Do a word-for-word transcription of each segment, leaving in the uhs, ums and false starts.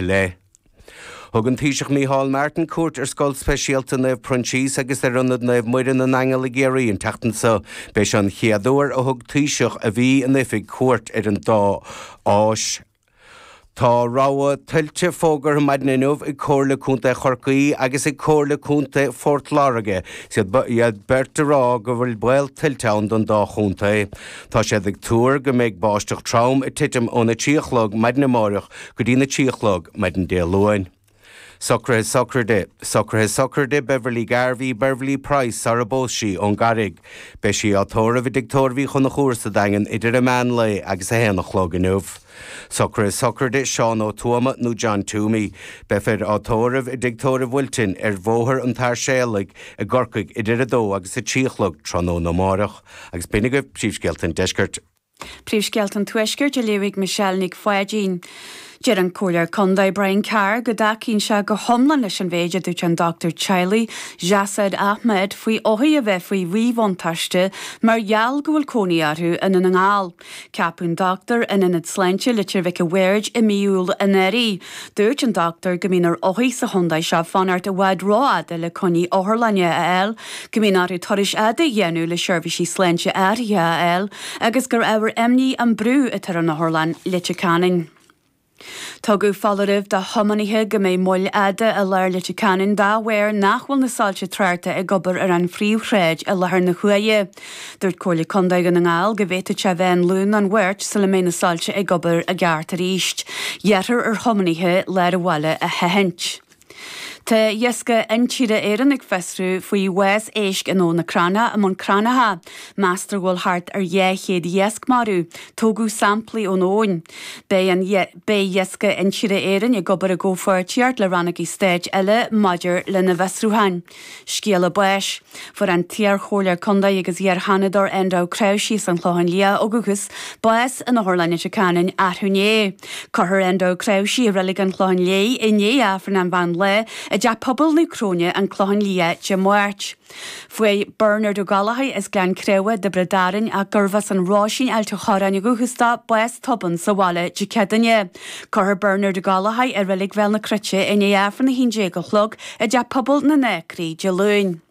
leith. Thug an Taoiseach Micheál Martin cuairt ar Scoil Speisialta Naomh Proinsias agus ar Ionad Naomh Muire na nAingeal i gCiarraí an tseachtain seo. B'é seo an chéad uair a thug Taoiseach a bhí in oifig cuairt ar an dá áis. Tá rabhadh tuilte fógartha maidin inniu ag Comhairle Contae Chorcaí agus ag Comhairle Contae Phort Láirge. Siad iad beirt ag rá go bhfuil baol tuilte ann don dá chontae. Tá siad ag tuar go mbeidh báisteach trom ag titim óna trí a chlog maidin amárach go dtí na trí a chlog maidin Dé Luain. Socruithe sochraide, Socruithe sochraide Beverly Garvey, Beverly Price sara bpós sí ón gCarraig. Beidh sí á tórramh i dtigh tórraimh Uí Chonchúir sa Daingean idir a meán lae agus a haon a chlog inniu. Socruithe sochraide Seán Ó Tuama nó John Toomey. Beifear á tórramh i dtigh tórraimh Wilton ar Bhóthar an tSáirséalaigh i gCorcaigh idir a dó agus a trí a chlog tráthnóna amárach. Agus b'in agaibh príomhscéalta an deiscirt. Príomhscéalta an Tuaiscirt á léamh ag Michelle Nic Pháidín. Deir an Comhairleoir Contae Brian Carr go dtacaíonn sé go hiomlán leis an mhéid a dúirt an dochtúir teaghlaigh Jasaid Ahmed faoi othair a bheith faoi mhíbhuntáiste mar gheall go bhfuil cónaí orthu i nDún na nGall. Ceapadh an dochtúir in Ionad Sláinte Leitir Mhic a' Bhaird i mí Iúil anuraidh. Dúirt an dochtúir go mbíonn ar othair sa chontae seo fanacht i bhfad rófhada le coinní otharlainne a fháil, go mbíonn orthu turais fhada a dhéanamh le seirbhísí sláinte áirithe a fháil agus gur ábhar imní an brú atá ar an otharlann Leitir Ceanainn. Tugadh foláireamh do thiománaithe go mbeidh moill fhada i lár Leitir Ceanainn dá bharr nach bhfuil na soilse tráchta ag obair ar an phríomhshráid i láthair na huaire. Dúirt Comhairle Contae Dhún na nGall go bhféadfadh sé bheith an Luan nó an Mháirt sula mbeidh na soilse ag obair i gceart arís. Iarrthar ar thiománaithe lár an bhaile a sheachaint. Tá Iascaigh Intíre Éireann ag fiosrú faoi bhás éisc in Abhainn na Cranncha i mBun Cranncha. Meastar go bhfuil thart ar dhá chéad iasc marbh. Tógadh samplaí ón abhainn. Beidh an Beidh Iascaigh Intíre Éireann ag obair i gcomhpháirtíocht le rannógaí stáit eile maidir lena bhfiosrúcháin. Scéala báis. Fuair an t-iar-chomhairleoir contae agus iar-sheanadóir Enda Ó Cnáimhsí as an Chlochán Liath ó dhúchas, bás in Otharlann Leitir Ceanainn arú inné. Cuirfear Enda Ó Cnáimhsí i Reilig an Chlocháin Léith i ndiaidh Aifreann an mheán lae i dTeach Pobail Naomh Cróine, an Clochán Liath, Dé Máirt. Fuair Bernard Ó Gallchóir as Gleann Creamha, Tiobraid Árann, ach gurbh as an Róisín Ailt an Chorráin ó dhúchas dó, bás tobann sa bhaile Dé Céadaoine. Cuirfear Bernard Ó Gallchóir i Reilig Bhéal na Cruite i ndiaidh Aifreann a haon déag a chlog i dTeach Pobail na nAcraí Dé Luain.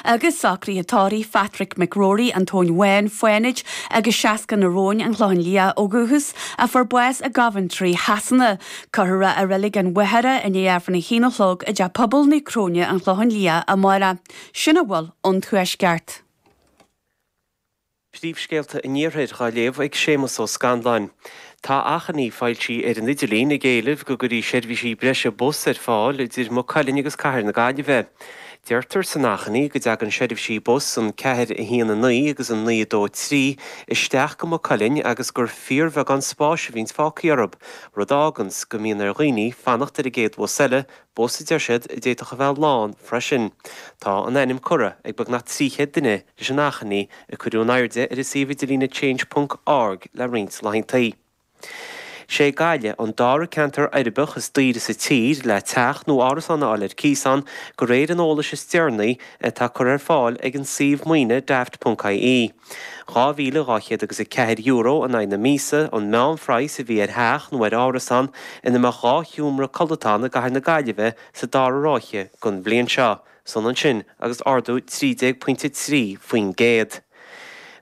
Agus socruithe tórraimh Phatrick McRory, an Tóin Bháin, Fánaid agus seasca na Róin, an Clochán Liath ó dhúchas, a fuair bás i gCoventry, Shasana. Cuirfear é i Reilig an Mhachaire i ndiaidh Aifreann a haon a chlog i dTeach Pobail Naomh Cróine, an Clochán Liath, amárach. Sin a bhfuil ón Tuaisceart. Príomhscéalta an Iarthair á léamh ag Séamus Ó Scanláin. Tá achainí foilsithe ar an idirlíon ag éileamh go gcuirfí seirbhísí breise bus ar fáil idir Maigh Cuilinn agus Cathair na Gaillimhe. Deirtear san achainí go dtagann seirbhísí bus an ceathair a haon a naoi agus an naoi a dó trí isteach go Maigh Cuilinn agus gur fíorbheagán spáis a bhíonns fágtha orthu, rud a fháganns go mbíonn ar dhaoine fanacht ar an gcéad bhus eile, bus a deir siad a d'fhéadfadh a bheith lán freisin. Tá an ainm curtha ag beagnach trí chéad duine leis an achainí a cuireadh in airde ar an suíomh idirlíne change ponc org le roinnt laethanta. Sé Gaillimh an dara ceantar uirbeach is daoire sa tír le teach nó árasán a fháil ar cíos ann, de réir an eolais is deireanaí atá curtha ar fáil ag an suíomh maoine daft ponc ie. Dhá mhíle dhá chéad agus a ceathair euro in aghaidh na míosa an meánphraghas a bhí ar theach nó ar árasán ina mbeadh dhá sheomra codlata ann i gcathair na Gaillimhe sa dara ráithe den bhliain seo. Is ionann sin agus ardú trí déag pointe trí faoin gcéad.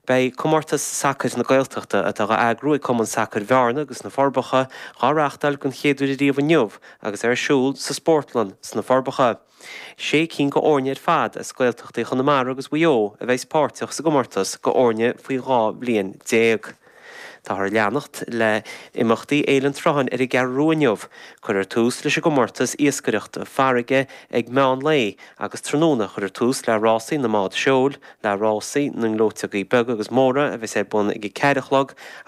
Beidh Comórtas Sacair na Gaeltachta, atá á eagrú ag Cumann Sacair Bhearna agus na Forbacha, dhá reáchtáil den chéad uair ariamh inniu agus ar siúl sa Spórtlann sna Forbacha. Sé cinn d'fhoirne ar fad as Gaeltachtaí Chonamara agus Mhaigh Eo a bheas páirteach sa gcomórtas d'fhoirne faoi dhá bhliain déag. Táthar ag leanacht le imeachtaí Fhéile an tSrutháin ar an gCeathrú Rua inniu. Cuirfear tús leis an gcomórtas iascaireachta farraige ag meán lae agus tráthnóna cuirfear tús le rásaí na mbád seoil, le rásaí na ngleoiteogaí beaga agus móra a bheas ar bun ag a ceathair a chlog agus